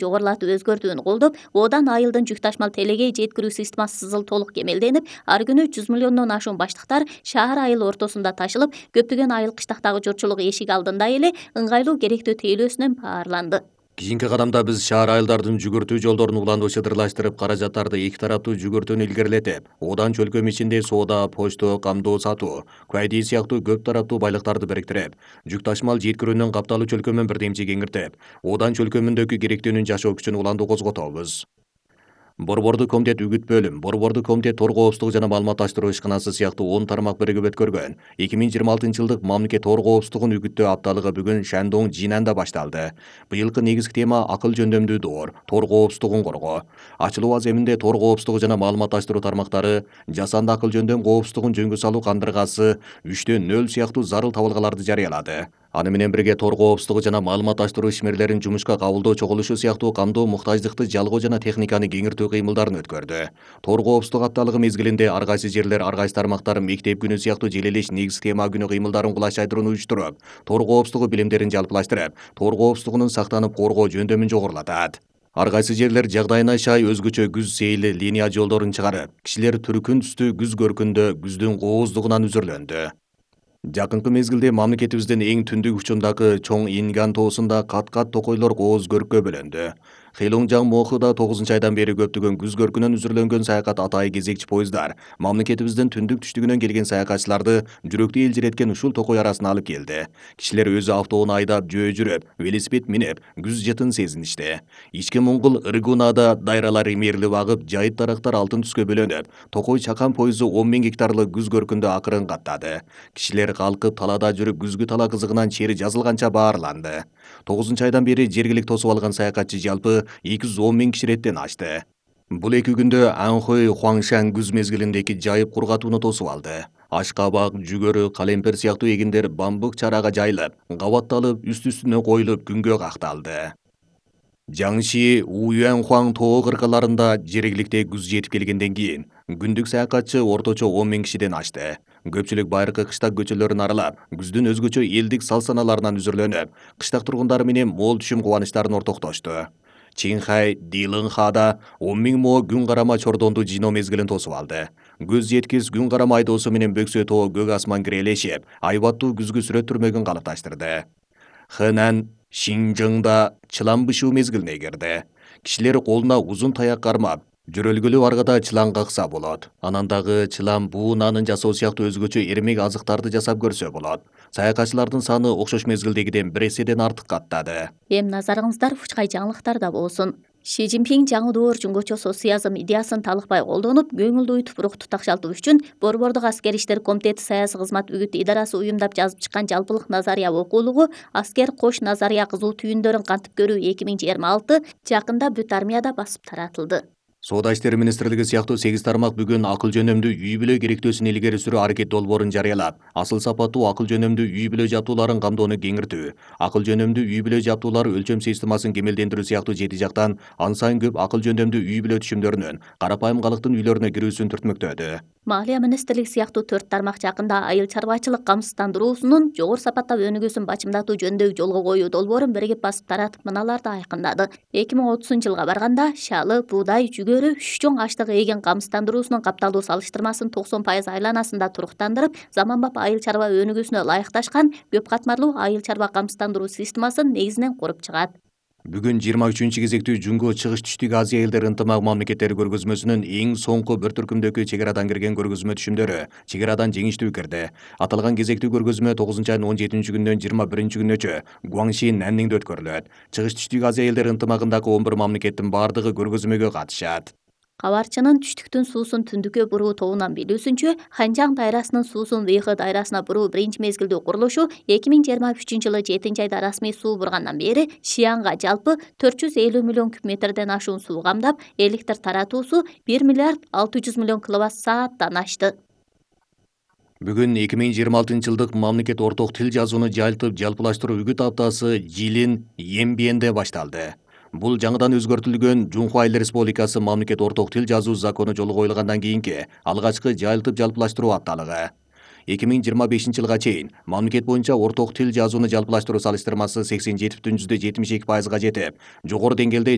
жогорулатып өзгөртүүнү колдоп, одан айылдын жүк ташмал телегей жеткирүү системасы толук кемелденип, ар күнү 100 миллиондон ашуун баштыктар шаар айыл ортосунда ташылып, көптөгөн айыл кыштактагы журтчулук эшик алдында эле ыңгайлуу керектөө тейлөөсүнөн баарланды. Кийинки кадамда биз шаар айылдардын жүгүртүү жолдорун улануу чыдырлаштырып, каражаттарды эки тараптуу жүгүртүүнү илгерилетип, одан чөлкөм ичинде соода, почто, камдоо сатуу, кайдий сыяктуу көп тараптуу байлыктарды бириктирип, жүк ташмал жеткирүүнүн капталуу чөлкөмүн бирдемчи кеңиртип, одан чөлкөмүндөгү керектөөнүн жашоо күчүн уланду козготобуз. Борбордук комитет үгүт бөлүм, Борбордук комитет тор коопсуздугу жана маалыматташтыруу ишканасы сыяктуу 10 тармак биригип өткөргөн 2026-жылдык мамлекет тор коопсуздугун үгүттөө апталыгы бүгүн Шандоң Жинанда башталды. Быйылкы негизги тема акыл жөндөмдүү доор, тор коопсуздугун коргоо. Ачылуу аземинде тор коопсуздугу жана маалыматташтыруу тармактары жасанды акыл жөндөм коопсуздугун жөнгө салуу кандыргасы 3/0 сыяктуу зарыл табылгаларды жарыялады. Аны менен бирге тор коопсуздугу жана маалыматташтыруу ишмерлерин жумушка кабылдоо чогулушу сыяктуу камдоо муктаждыкты жалгоо жана техниканы кеңиртүү кыймылдарын өткөрдү. Тор коопсуздук апталыгы мезгилинде ар кайсы жерлер, ар кайсы тармактар мектеп күнү сыяктуу желелеш негизги тема күнү кыймылдарын кулаш айдырууну уюштуруп, тор коопсуздугу билимдерин жалпылаштырып, тор коопсуздугунун сактанып коргоо жөндөмүн жогорулатат. Ар кайсы жерлер жагдайына шай өзгөчө күз сейили линия жолдорун чыгарып, кишилер түркүн түстүү күз көркүндө күздүн кооздугунан үзүрлөндү. Жакынкы мезгилде мамлекетибиздин эң түндүк учундагы Чоң Инган тоосунда кат-кат токойлор кооз көрккө бөлөндү. Хейлоңжаң Мохуда 9-айдан бери көптөгөн күз көркүнөн үзүрлөнгөн саякат атайы кезекчи поезддар мамлекетибиздин түндүк түштүгүнөн келген саякатчыларды жүрөктү элжиреткен ушул токой арасына алып келди. Кишилер өзү автоуну айдап, жөө жүрүп, велосипед минип, күз жытын сезиништи. Ички Моңгол Ыргунада дайралар имерилип агып, жайыт дарактар алтын түскө бөлөнүп, токой чакан поезду 10 000 гектарлык күз көркүндө акырын каттады. Кишилер калкып талаада жүрүп, күзгү тала кызыгынан чери жазылганча баарланды. 9-айдан бери жергилик тосуп алган саякатчы жалпы 210 000 киши реттен ашты. Бул 2 күндө Анхой Хуаңшан күз мезгилиндеки жайып кургатууну тосуп алды. Ашкабак, жүгөрү, калемпер сыяктуу эгиндер бамбук чарага жайылып, кабатталып, үст-үстүнө коюлуп күнгө какталды. Жаңши Уюанхуаң тоо кыркаларында жергиликте күз жетип келгенден кийин күндүк саякатчы орточо 10 000 кишиден ашты. Көпчүлүк байыркы кыштак көчөлөрүн аралап, күздүн өзгөчө элдик сал-саналарынан үзүрлөнүп, кыштак тургундары менен мол түшүм кубанычтарын ортоктошту. Чинхай, Дилыңхада 10 000 мо күн карама чордонду жыйноо мезгилин тосуп алды. Көз жеткис күн карама айдоосу менен Бөксө тоо көк асман кирелешип, айбаттуу күзгү сүрөт түрмөгүн калыпташтырды. Хэнан Шинжыңда чылан бышуу мезгилине кирди. Кишилер колуна узун таяк кармап, жөрөлгөлүү аргада чылан какса болот. Анан дагы чылан буунанын жасоо сыяктуу өзгөчө эрмек азыктарды жасап көрсө болот. Саякатчылардын саны окшош мезгилдегиден бир эседен артык каттады. Эми назарыңыздар Фучкай жаңылыктарда болсун. Ши Цзиньпин жаңы доор жумгочо социализм идеясын талыкпай колдонуп, көңүлдү уйтуп рухту такшалтуу үчүн Борбордук аскер иштер комитети саясий кызмат үгүт идарасы уюмдап жазып чыккан жалпылык назария окуулугу «Аскер кош назария кызуу түйүндөрүн кантип көрүү 2026» жакында бүт армияда басып таратылды. Соода иштери министрлиги сыяктуу 8 тармак бүгүн акыл жөнөмдүү үй бүлө керектөөсүн илгери сүрүү аракет долбоорун жарыялап, асыл сапаттуу акыл жөнөмдүү үй бүлө жабдууларын камдоону кеңиртүү, акыл жөнөмдүү үй бүлө жабдуулар өлчөм системасын кемелдендирүү сыяктуу 7 жактан ан сайын көп акыл жөнөмдүү үй бүлө түшүмдөрүнүн карапайым калктын үйлөрүнө кирүүсүн түртмөктөдү. Малия министрлиги сыяктуу 4 тармак жакында айыл чарбачылык камсыздандыруусунун жогору сапаттап өнүгүүсүн бачымдатуу жөнүндөгү жолго коюу долбоорун биригип басып таратып мыналарды айкындады. 2030-жылга барганда шалы, буудай, жүгөрү, 3 чоң аштык эген камсыздандыруусунун капталуу салыштырмасын 90% айланасында туруктандырып, заманбап айыл чарба өнүгүүсүнө ылайыкташкан көп катмарлуу айыл чарба камсыздандыруу системасын негизинен куруп чыгат. Бүгүн 23 кезектүү Жунго чыгыш түштүк Азия элдер ынтымак мамлекеттери көргөзмөсүнүн эң соңку бір түркүмдөгү чек арадан кирген көргөзмө түшүмдөрү чек арадан жеңиштүү кирди. Аталган кезектүү көргөзмө 9-айдын 17 күнүнөн 21 күнүнөчө Гуаңши Нанниңде өткөрүлөт. Чыгыш түштүк Азия элдер ынтымагындагы 11 мамлекеттин бардыгы көргөзмөгө катышат. Кабарчынын түштүктүн суусун түндүккө буруу тобунан билүүсүнчө, Ханжаң дайрасынын суусун Вейхэ дайрасына буруу биринчи мезгилдүү курулушу 2023-жылы 7-айда расмий суу бургандан бери Шиянга жалпы 450 миллион куб метрден ашуун суу камдап, электр таратуусу 1 миллиард 600 миллион киловатт-сааттан ашты. Бүгүн 2026-жылдык мамлекет орток тил жазууну жайылтып жалпылаштыруу үгүт аптасы Жилин Ембиенде башталды. Бул жаңыдан өзгөртүлгөн Жунхуа Эл Республикасы мамлекет орток тил жазуу закону жолго коюлгандан кийинки алгачкы жайылтып жалпылаштыруу апталыгы. 2025 жылга чейин мамлекет боюнча орток тил жазууну жалпылаштыруу салыштырмасы 87,72%га жетип, жогору деңгээлде